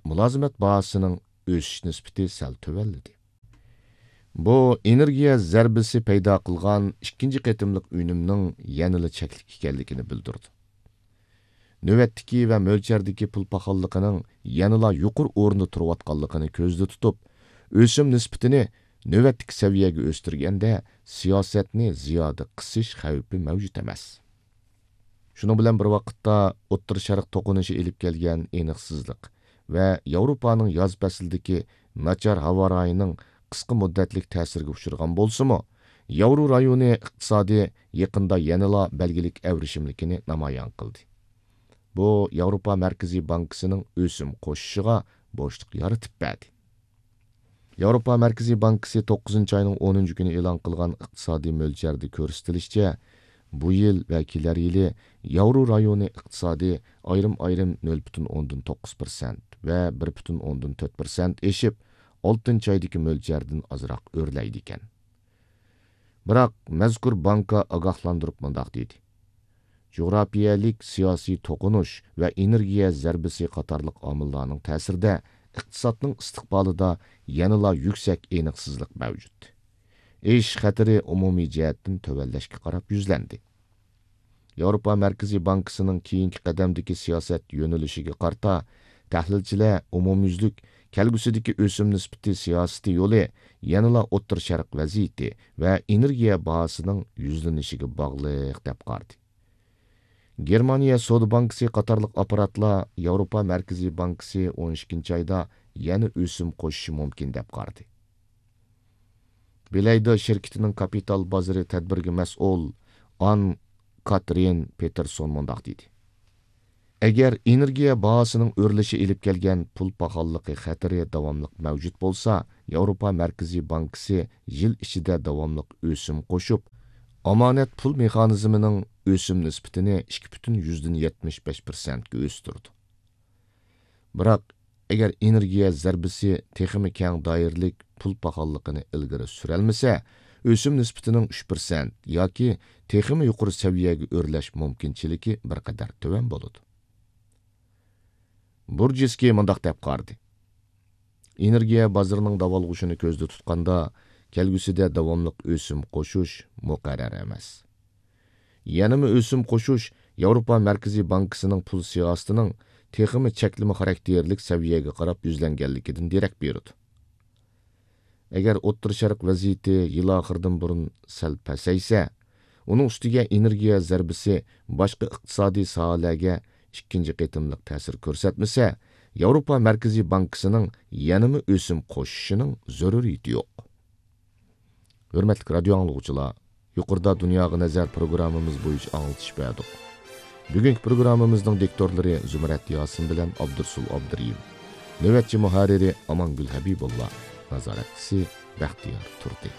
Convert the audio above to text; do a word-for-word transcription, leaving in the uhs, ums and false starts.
مۇلازىمەت باھاسىنىڭ ئۆسۈش نىسبىتى سەل تۆۋەنلىدى. بۇ ئېنېرگىيە زەربىسى پەيدا قىلغان ئىككىنچى قېتىملىق ئۈنۈمنىڭ يەنىلا چەكلىك ئىكەنلىكىنى بىلدۈردى. نۆۋەتتىكى ۋە مۆلچەردىكى پۇل پاخاللىقىنىڭ يەنىلا يۇقىرى ئورۇندا تۇرۇۋاتقانلىقىنى كۆزدە تۇتۇپ، ئۆسۈم نىسبىتىنى نۆۋەتتىكى سەۋىيەگە ئۆستۈرگەندە، سىياسەتنى زىيادە قىسىش خەۋپى مەۋجۇت ئەمەس. شۇنىڭ بىلەن بىر ۋاقىتتا، ئوتتۇرا شەرق توقۇنۇشى ئېلىپ كەلگەن ئېنىقسىزلىق ۋە ياۋروپانىڭ ياز پەسلىدىكى ناچار ھاۋا رايىنىڭ قىسقا مۇددەتلىك تەسىرگە ئۇچرىغان بولسىمۇ، ياۋرو رايونى ئىقتىسادى يېقىندا يەنىلا بەلگىلىك ئەۋرىشىملىكىنى نامايان قىلدى. بۇ ياۋروپا مەركىزىي بانكىسىنىڭ ئۆسۈم قوشۇشىغا بوشلۇق يارىتىپ بەردى. ياۋروپا مەركىزىي بانكىسى توققۇزىنچى ئاينىڭ ئونىنچى كۈنى ئېلان قىلغان ئىقتىسادىي مۆلچەردە كۆرسىتىلىشىچە، بۇ يىل ۋە كېلەر يىلى ياۋرو رايونى ئىقتىسادى ئايرىم-ئايرىم نۆل پۈتۈن ئوندىن توققۇز پىرسەنت ۋە بىر پۈتۈن ئوندىن تۆت پىرسەنت ئېشىپ، ئالتىنچى ئايدىكى مۆلچەردىن ئازراق ئۆرلەيدىكەن. بىراق، مەزكۇر بانكا ئاگاھلاندۇرۇپ مۇنداق دېدى: جۇغراپىيەلىك سىياسىي توقۇنۇش ۋە ئېنېرگىيە زەربىسى قاتارلىق ئامىللارنىڭ تەسىرىدە ئىقتىسادنىڭ ئىستىقبالىدا يەنىلا يۈكسەك ئېنىقسىزلىق مەۋجۇت. ئېشىش خەتىرى ئومۇمىي جەھەتتىن تۆۋەنلەشكە قاراپ يۈزلەندى. ياۋروپا مەركىزىي بانكىسىنىڭ كېيىنكى قەدەمدىكى سىياسەت يۆنىلىشىگە قارىتا، تەھلىلچىلەر ئومۇميۈزلۈك كەلگۈسىدىكى ئۆسۈم نىسبىتى سىياسىتى يولى يەنىلا ئوتتۇرا شەرق ۋەزىيىتى ۋە ئېنېرگىيە باھاسىنىڭ يۈزلىنىشىگە باغلىق، دەپ قارىدى. گېرمانىيە سودا بانكىسى قاتارلىق ئاپپاراتلار ياۋروپا مەركىزىي بانكىسى ئون ئىككىنچى ئايدا يەنە ئۆسۈم قوشۇشى مۇمكىن، دەپ قارىدى. بىلەيدە شىركىتىنىڭ كاپىتال بازىرى تەدبىرىگە مەسئۇل ئان كاترىن پېتېرسون مۇنداق دېدى: ئەگەر ئېنېرگىيە باھاسىنىڭ ئۆرلىشى ئېلىپ كەلگەن پۇل پاخاللىقى خەتىرى داۋاملىق مەۋجۇت بولسا، ياۋروپا مەركىزىي بانكىسى يىل ئىچىدە داۋاملىق ئۆسۈم قوشۇپ، ئامانەت پۇل مېخانىزمىنىڭ ئۆسۈم نىسبىتىنى ئىككى پۈتۈن يۈزدىن يەتمىش بەش پىرسەنتكە ئۆستۈرىدۇ. بىراق، ئەگەر ئېنېرگىيە زەربىسى تېخىمۇ كەڭ دائىرىلىك پۇل پاخاللىقىنى ئىلگىرى سۈرەلمىسە، ئۆسۈم نىسبىتىنىڭ ئۈچ پىرسەنت ياكى تېخىمۇ يۇقىرى سەۋىيەگە ئۆرلەش مۇمكىنچىلىكى بىر قەدەر تۆۋەن بولىدۇ. بۇرجىسكىي مۇنداق دەپ قارىدى: ئېنېرگىيە بازىرىنىڭ داۋالغۇشىنى كۆزدە تۇتقاندا، كەلگۈسىدە داۋاملىق ئۆسۈم قوشۇش مۇقەررەر ئەمەس. يەنىمۇ ئۆسۈم قوشۇش ياۋروپا مەركىزىي بانكىسىنىڭ پۇل سىياسىتىنىڭ تېخىمۇ چەكلىمە خاراكتېرلىك سەۋىيەگە قاراپ يۈزلەنگەنلىكىدىن دېرەك بېرىدۇ. ئەگەر ئوتتۇرا شەرق ۋەزىيىتى يىل ئاخىرىدىن بۇرۇن سەل پەسەيسە، ئۇنىڭ ئۈستىگە ئېنېرگىيە زەربىسى باشقا ئىقتىسادىي ساھەلەرگە ئىككىنچى قېتىملىق تەسىر كۆرسەتمىسە، ياۋروپا مەركىزىي بانكىسىنىڭ يەنىمۇ ئۆسۈم قوشۇشىنىڭ زۆرۈرىيىتى يوق. ھۆرمەتلىك رادىيو ئاڭلىغۇچىلار، يۇقىرىدا دۇنياغا نەزەر پروگراممىمىز بويىچە ئاڭلىتىش بەردۇق. بۈگۈنكى پروگراممىمىزنىڭ دىكتورلىرى زۇمرەت ياسىن بىلەن ئابدۇرسۇل ئابدۇرېھىم. نۆۋەتچى مۇھەررىرى ئامانگۈل ھەبىبۇللا. نازارەتچىسى بەختىيار تۇردى.